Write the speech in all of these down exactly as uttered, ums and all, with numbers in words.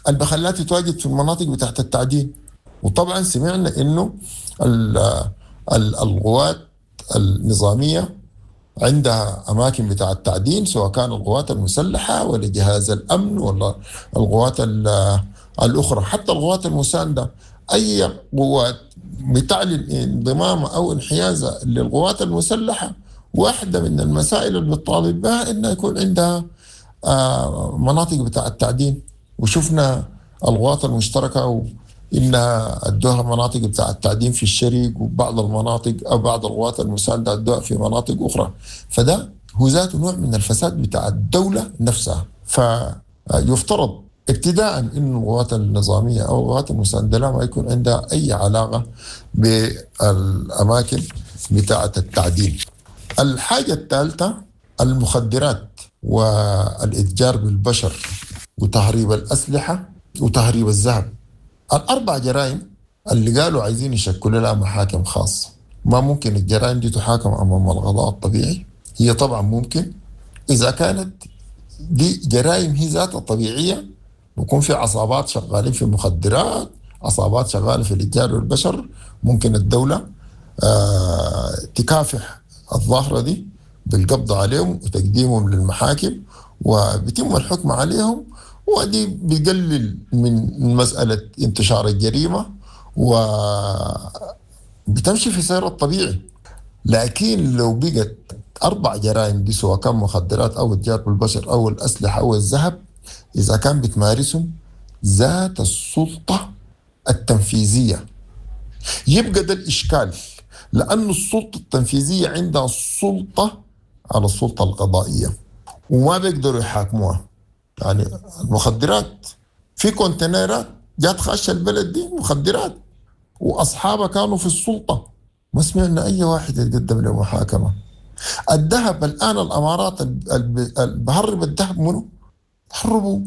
اللي بخليها تتواجد في المناطق بتاعت التعدين. وطبعا سمعنا انه القوات النظامية عندها اماكن بتاع التعدين، سواء كان القوات المسلحة ولا جهاز الامن ولا القوات الاخرى، حتى القوات المساندة. اي قوات بتعلن انضمامها او انحيازها للقوات المسلحة، واحدة من المسائل اللي بتطالب بها انها يكون عندها مناطق بتاع التعدين. وشفنا القوات المشتركة انها ادوها مناطق بتاع التعدين في الشرق، وبعض المناطق او بعض القوات المساندة ادوها في مناطق اخرى. فده هو ذاته نوع من الفساد بتاع الدولة نفسها. فيفترض ابتداء انه القوات النظامية او القوات المساندة لا ما يكون عندها اي علاقة بالاماكن بتاعه التعدين. الحاجة الثالثة المخدرات والاتجار بالبشر وتهريب الاسلحة وتهريب الذهب. الاربع جرائم اللي قالوا عايزين يشكلوا لها محاكم خاصة، ما ممكن الجرائم دي تحاكم امام القضاء الطبيعي. هي طبعا ممكن اذا كانت دي جرائم هي ذاتها طبيعية، بيكون في عصابات شغالين في المخدرات، عصابات شغالة في الاتجار والبشر، ممكن الدولة آه تكافح الظاهرة دي بالقبض عليهم وتقديمهم للمحاكم وبيتم الحكم عليهم، ودي بيقلل من مسألة انتشار الجريمة وبتمشي في سير الطبيعي. لكن لو بقت أربع جرائم دي، سواء كان مخدرات أو اتجار بالبشر أو الأسلحة أو الذهب، إذا كان بتمارسهم ذات السلطة التنفيذية، يبقى ده الإشكال، لأن السلطة التنفيذية عندها السلطة على السلطة القضائية وما بيقدروا يحاكموها. يعني المخدرات في كونتينرات جات خاشة البلد دي مخدرات وأصحابها كانوا في السلطة، ما سمعنا أي واحد يتقدم لمحاكمة. الذهب الآن الأمارات بهرب الذهب منه؟ هربوا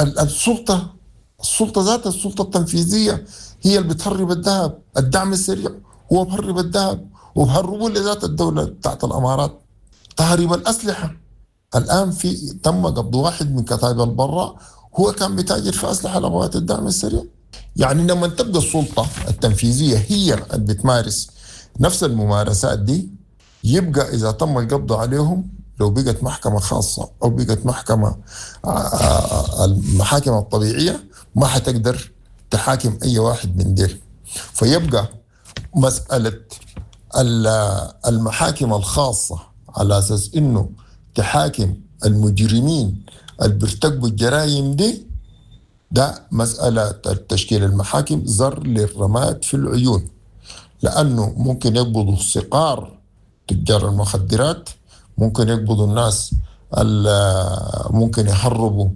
السلطة، السلطة ذات السلطة التنفيذية هي اللي بتهرب الذهب. الدعم السريع هو بهرب الذهب وبهربوا لذات الدولة بتاعت الأمارات. تهريب الأسلحة الآن في تم قبض واحد من كتائب البراء هو كان بتاجر في أسلحة لقوات الدعم السريع. يعني لما تبقى السلطة التنفيذية هي اللي بتمارس نفس الممارسات دي، يبقى إذا تم القبض عليهم لو بقت محكمة خاصة أو بقت محكمة المحاكم الطبيعية ما حتقدر تحاكم أي واحد من ديل. فيبقى مسألة المحاكم الخاصة على أساس إنه تحاكم المجرمين اللي بيرتكبوا الجرائم دي، ده مسألة تشكيل المحاكم زر للرماد في العيون، لأنه ممكن يقبضوا صقار تجار المخدرات، ممكن يقبضوا الناس ممكن يهربوا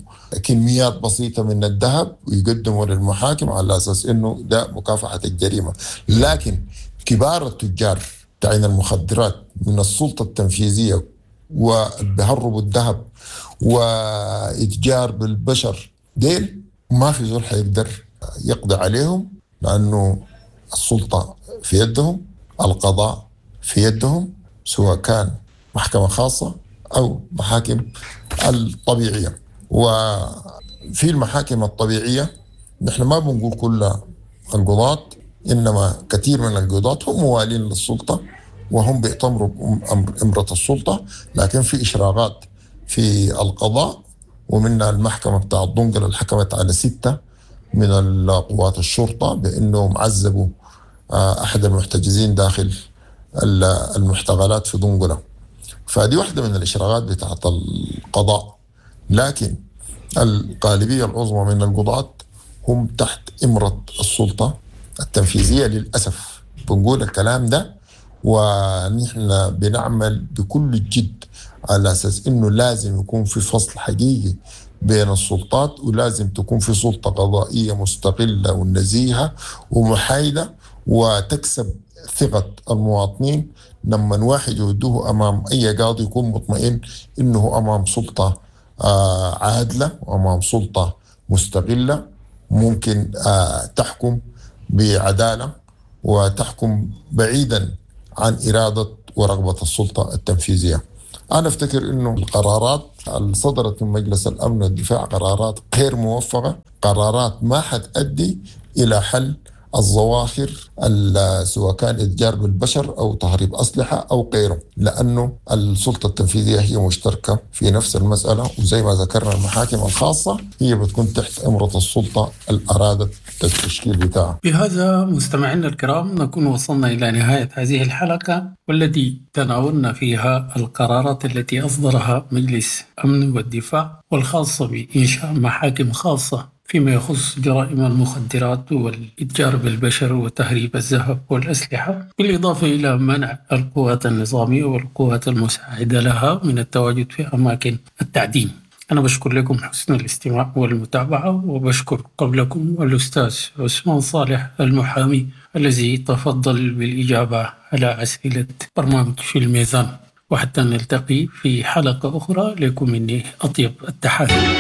كميات بسيطة من الذهب ويقدموا للمحاكم على أساس إنه ده مكافحة الجريمة. لكن كبار التجار تاعين المخدرات من السلطة التنفيذية وبيهربوا الذهب وإتجار بالبشر ديل ما في زول حيقدر يقضي عليهم، لأنه السلطة في يدهم، القضاء في يدهم، سواء كان محكمة خاصة أو محاكم الطبيعية. وفي المحاكم الطبيعية نحن ما بنقول كل القضاة، إنما كثير من القضاة هم موالين للسلطة وهم بيأتمروا بأمرة السلطة، لكن في إشراقات في القضاء، ومنها المحكمة بتاع الدنقل اللي حكمت على ستة من القوات الشرطة بأنهم عذبوا أحد المحتجزين داخل المحتقلات في دنقلة. فدي واحدة من الإشراقات بتاعت القضاء، لكن الغالبية العظمى من القضاة هم تحت إمرة السلطة التنفيذية للأسف. بنقول الكلام ده ونحن بنعمل بكل الجد على أساس إنه لازم يكون في فصل حقيقي بين السلطات، ولازم تكون في سلطة قضائية مستقلة ونزيهة ومحايدة وتكسب ثقة المواطنين. لما واحد يودوه أمام أي قاضي يكون مطمئن إنه أمام سلطة عادلة وأمام سلطة مستقلة ممكن تحكم بعدالة وتحكم بعيدا عن إرادة ورغبة السلطة التنفيذية. أنا أفتكر أنه القرارات اللي صدرت من مجلس الأمن والدفاع قرارات غير موفقة، قرارات ما حتؤدي إلى حل الظواهر سواء كان اتجار بالبشر أو تهريب أسلحة أو غيره، لأنه السلطة التنفيذية هي مشتركة في نفس المسألة، وزي ما ذكرنا المحاكم الخاصة هي بتكون تحت إمرة السلطة اللي أرادت التشكيل بتاعها. بهذا مستمعينا الكرام نكون وصلنا إلى نهاية هذه الحلقة والتي تناولنا فيها القرارات التي أصدرها مجلس أمن والدفاع والخاصة بإنشاء محاكم خاصة فيما يخص جرائم المخدرات والإتجار بالبشر وتهريب الذهب والأسلحة، بالإضافة إلى منع القوات النظامية والقوات المساعدة لها من التواجد في أماكن التعدين. أنا بشكر لكم حسن الاستماع والمتابعة، وبشكر قبلكم الأستاذ عثمان صالح المحامي الذي تفضل بالإجابة على أسئلة برنامج في الميزان. وحتى نلتقي في حلقة أخرى، لكم مني أطيب التحايا.